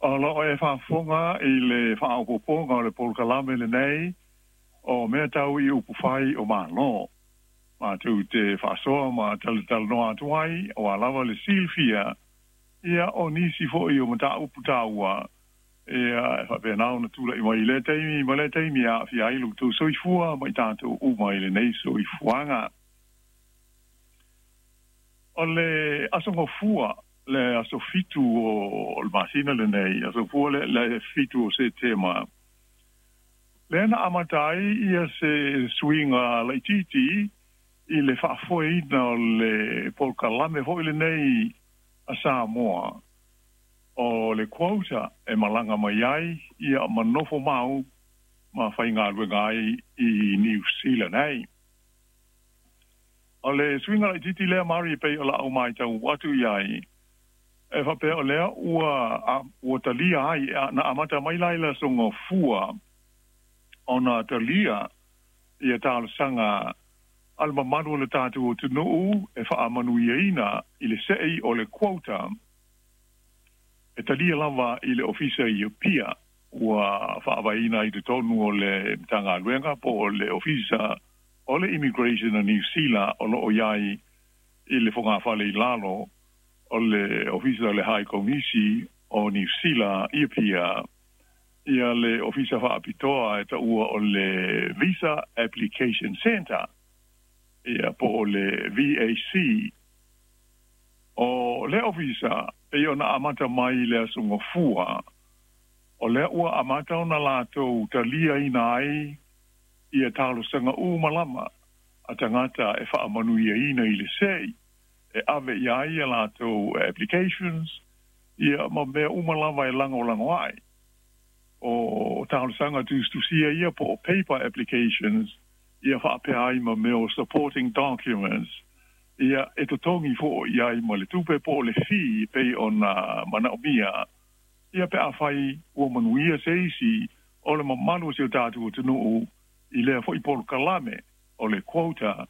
O loo e faafofoga i le faaopoopoga o le polokalame lenei o mea tau i upufai o Malo. Matou te faasoa ma talatalanoa atu ai aua lava le silafia ia o nisi foi o mataupu taua ia e faapena ona tulai mai i lea taimi ma lea taimi e aafia ai lo outou soifua ma i tatou uma i lenei soifuaga. O le Aso Gafua, le aso 7 o le masina lenei, aso Gafua le 7 o Setema, lea na amata ai ia se suiga laitiiti i le faafoeina o le polokalame foi lenei a Samoa o le quota e malaga mai ai ia ma nofo mau ma faigaluega ai i Niu Sila nei. O le suiga laitiiti lea Mari e pei o lau matau atu i ai, e faapea o lea ua talia ai, na amata mai la i le Aso Gafua ona talia ia talosaga a le mamalu o le tatou atunuu e faamanuiaina i le sei o le quota e talia lava i le ofisa i Apia ua faavaeina i totonu o le Matagaluega po o le Ofisa o le Immigration a Niu Sila o loo i ai i le fogafale i lalo o le Ofisa o le High Komisi o Niu Sila i Apia ia le ofisa faapitoa e taua o le Visa Application Centre ia po o le VAC. O le ofisa pei ona amata mai i le Aso Gafua, o lea ua amata ona latou taliaina ai ia talosaga uma lava a tagata e faamanuiaina i le sei e ave i ai ia latou applications ia ma mea uma lava e lagolago ai. O talosaga tusitusia ia po o paper applications ia faapea ai ma mea o supporting documents ia e totogi foi i ai ma le tupe po o le fee pei ona manaomia ia pe afai ua manuia se isi o le mamalu o si o tatou atunuu i lea foi polokalame o le quota.